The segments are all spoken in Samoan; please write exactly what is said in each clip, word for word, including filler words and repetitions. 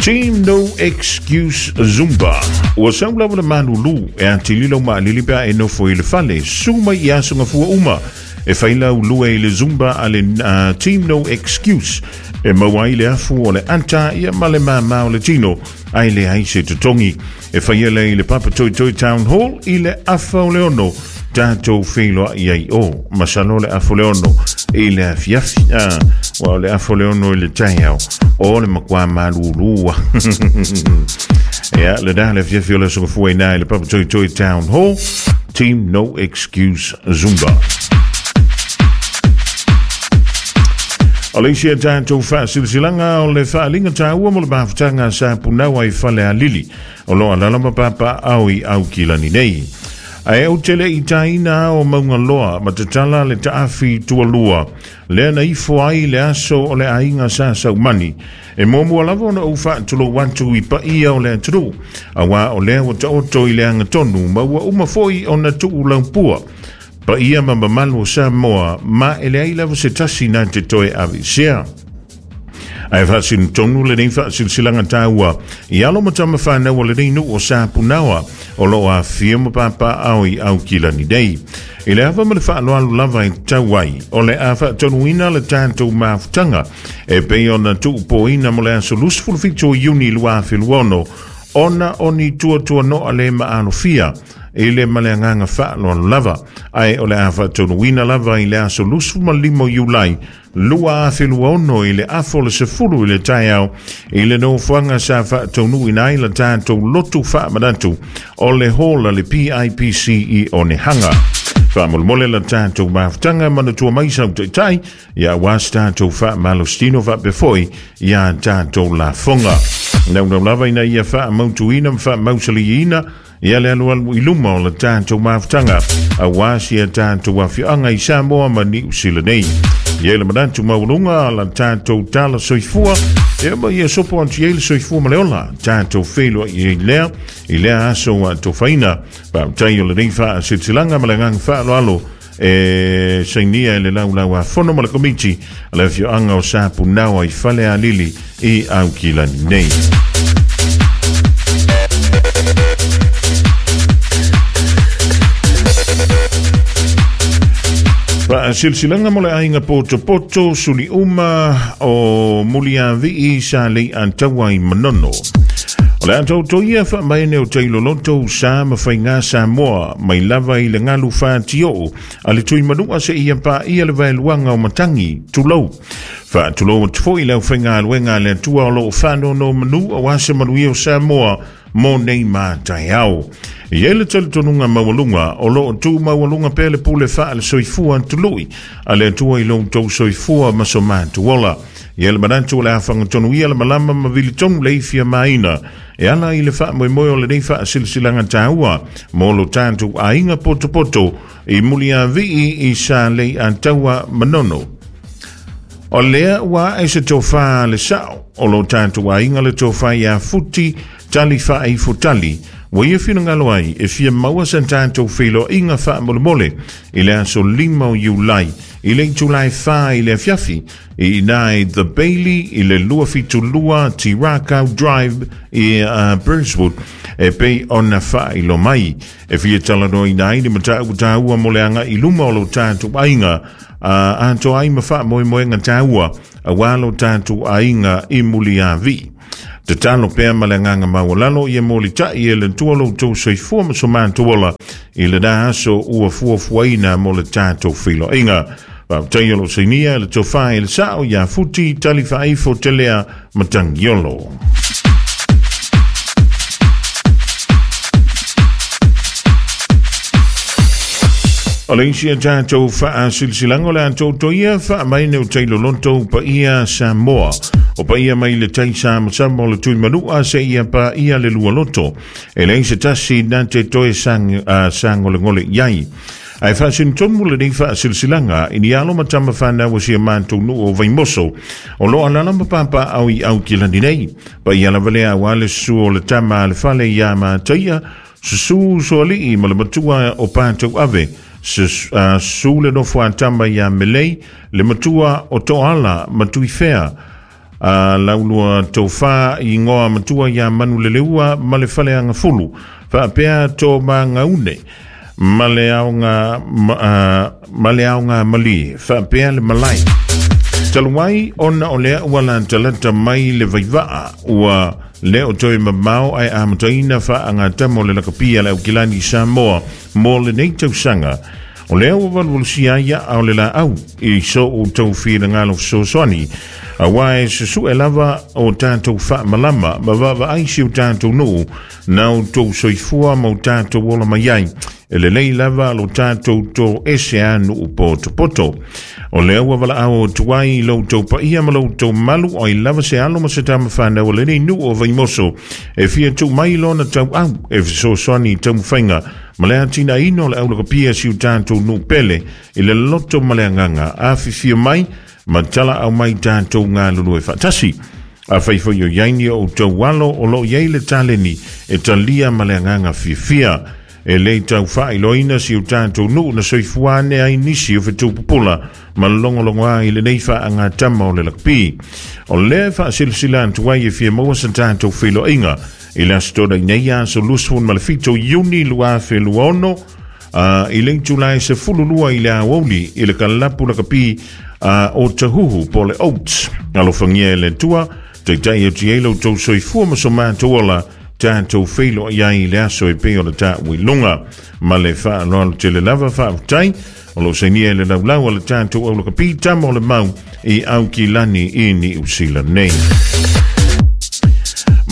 Team No Excuse Zumba. Ua sau lava le malulu e atililo maalili pea e nofo i le fale. Su mai i aso ngafua uma. E whaila ulua i le Zumba a le uh, Team No Excuse. E maua i le afu o le anta ia ma le māmā o le tino. Ai le ai se totongi. E whaia le i le Papa Toi Toi Town Hall i le afa o le ono. Tātou wheiloa i ai o. Masalo le afa o le ono i le afiafi. Ah, wa o le afa o le ono i le taiao. O le makwa malulua. Ia, le dā le afiafi o le songafua i nā i le Papa Toi Toi Town Hall. Team No Excuse Zumba. O le isi a tātou whaasilsilanga o le whaalinga tāua mo le mafutanga sa punawa i whale a lili. O loa lalama papa au i au kilani nei. Ae au tele i tāina o Maungaloa, matatala le taafi tualua. Lea na ifo ai le aso o le ainga sa saumani. E muamua lava ona ou faatulou atu i paia o le atunuu. Auā o lea ua taoto i le agatonu, ma ua uma foi ona tuu laupua. Paia ma mamalu o Samoa, ma e leai lava se tasi na te toe aveesea. Ae faasinotonu lenei faasilasilaga taua i alo ma tama fanau o lenei nuu o Sapunaoa o loo afia ma papaao i Aukilani nei. I le ava ma le faaloalo lava e tau ai o le a faatonuina le tatou mafutaga e pei ona tuupoina mo le aso luasefulu fitu o Iuni lua afe luaono ona o ni tuatuanoa le maalofia i le ma le agaga faaloalo lava. Ae o le a faatonuina lava i le aso luasefulu ma lima o Iulai lua afe luaono i le afo le sefulu i le taeao i le nofoaga sa faataunuuina ai la tatou lotu faamanatu o le hola le P I P C i Onehanga. Faamolemole la tatou mafutaga manatua mai sau taitai ia auā se tatou faamalositino faapea ia tatou lafoga. Naunau lava ina ia faamautuina ma faamausaliina ia le alualu i luma o le tatou mafutaga auā sia tatou afioaga i Samoa ma Niu Sila nei. Ia le manatu maualuga la tatou tala soifua ia ma ia sopo atu i ai le soifua ma le ola tatou feiloai ai lea i lea aso ua tofaina. Faafetai o lenei faasilasilaga ma le agaga faaaloalo e sainia e le laulau a fono ma le komiti a le afioaga o Sapunaoa i Falealili i Aukilani nei. Faasilasilaga mo le aiga potopoto suli uma o Muliavii sa lei ataua i Manono. O le atouto ia faamaene o tailoloto sa ma faiga Samoa mai lava i le galu fatioo a le tuimanua seia paia le vaeluaga o matangi tulou. Faatulou atu foi le aufaigaluega a le Atua o loo faanonomanu auā se manuia o Samoa mo nei mataeao. I ai le talitonuga maualuga o loo tu maualuga pea le pule faale soifua tului a le Atua i loutou soifua ma so matou ola. Ia le manatu o le afagatonu ia le malama ma vilitonu le ifia maina e ala i le faamoemoe o lenei faasilasilaga taua mo lo tatou aiga potopoto i Muliavii i sa lei ataua Manono. O lea ua ae se tofā le sao o lo tatou aiga le tofā iā Futi tali faaifotali ua ia finagalo ai e fia maua sa tatou feiloaiga faamolemole i le aso lima o Iulai i le itulai fā i le afiafi i ina i The Bailey i le lua fitu lua Tirakau Drive i uh, Burswood e pei ona faailo mai. E fia talanoaina ai le mataupu taua mo le aga'i luma o lo tatou aiga uh, atoa ai ma faamoemoega taua auā lo tatou aiga i Muliavii. Tatalo pea ma le agaga maualalo ia molitai e le Atua lo outou soifua ma so matou ola i lenā aso ua fuafuaina mo le tatou feiloaiga. Faafetai o loo sainia le tofā i le sao iā Futi tali faaifo telea Matagiolo. O le isi a tatou faasilasilaga o le atouto ia faamaene o tailoloto paia Samoa. O paia mai le tai samasama o le tuimanua seia paia le lualoto. E leai se tasi na te toe sang, uh, sagolegole i ai. Ae faasinotonu lenei faasilasilaga i ni alo ma tama fanau o sia matou nuu o Vaimoso o loo alala ma papaao i Aukilani nei. Paia lava lea auā le susu o le tama a le fale iā Mataia, susu soalii ma le matua o patou ave, su le nofo a tama iā Melei, le matua o Toala ma Tuifea, A laulua taufa i ngoa matua ia Manuleleua ma le faleagafulu faapea Tomaga-une ma le aoga ma le aoga malie faapea le malae. Talu ai ona o lea ua latalata mai le vaivaa ua le o toe mamao ae amataina faagatama o le lakapia le Aukilani Samoa mo lenei tausaga. O lea ua valuvalusia ai ao le laau i so outou finagalo fesoasoani auā e susu'e lava o tatou faamalama ma vaavaai si o tatou nuu na outou soifua ma o tatou ola mai ai e lelei lava lo tatou toese a nuu potopoto. O lea ua valaau atu ai i lo outou paia ma lo outou malu o ai lava se alo ma se tamafanau o lenei nuu o Vaimoso e fia tuu mai lona tauau e fesoasoani i taumafaiga ma le atinaeina o le aulakapia si o tatou nuu pele i le loto ma le agaga afifio mai ma tala au mai tatou galulue faatasi. Afai foi o iai ni o outou alo o loo iai le taleni e talia ma le agaga fiafia e lē tau faailoaina si o tatou nuu na soifua ane ai nisi o fetupupula ma logologoā i lenei faagatama o le lakapi. O lea faasilasila atu ai e fia maua sa tatou feiloaiga i le aso Toonai nei aso luasefulu ma le fito Iuni lua afe lua ono i le itula e sefululua i le aoauli i le kalapu lakapi o Tahuhu po le Oats. Alofagia e le Atua taitai atu ai lo outou soifua ma so matou ola tatou feiloai ai i le aso e pei o le taʻu i luga ma le faaaloalo tele lava. Faafetai o loo sainia e le laulau a le tatou aulakapi tama o le mau i Aukilani i Niusila nei.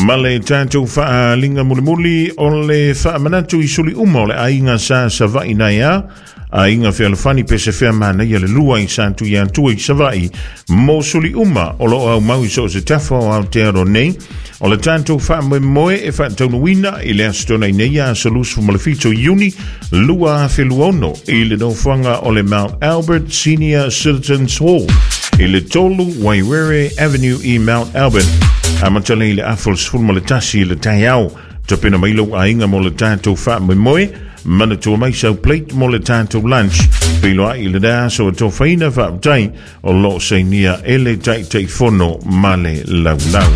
Ma le tatou faaliga mulimuli o le faamanatu i suli uma o le aiga sa Savaii nai a aiga fealofani pese fea manaia le lua i sa Tuiatua i Savaii mo suli uma o loo aumau i so o se tafa o Aotearoa nei. O le tatou faamoemoe e faataunuuina i le aso Toonai nei aso luasefulu ma le fito Iuni lua afe lua ono i le nofoaga o le Mount Albert Senior Citizens Hall i le tolu Wairere Avenue i Mount Albert amatalia i le afa o le sefulu ma le tasi i le taeao. Tapena mai lou aiga mo le tatou faamoemoe. Manatua mai sau plate mo le tatou lunch. Feiloai i le aso e tofaina. Faafetai o loo sainia e le Taitaifono ma le laulau.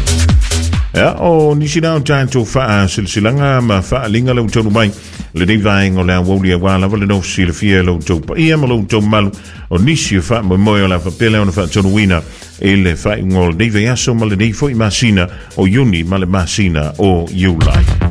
Ia o nisi na o tatou faasilasilaga ma faaliga lau taunu mai lenei vaega o le aoauli auā lava le nofo silafia e lo outou paia ma lo outou malu o nisi o faamoemoe o le a faapea lea ona faatonuina i le faaiuga o lenei vaiaso ma lenei foi masina o Iuni ma le masina o Iulai.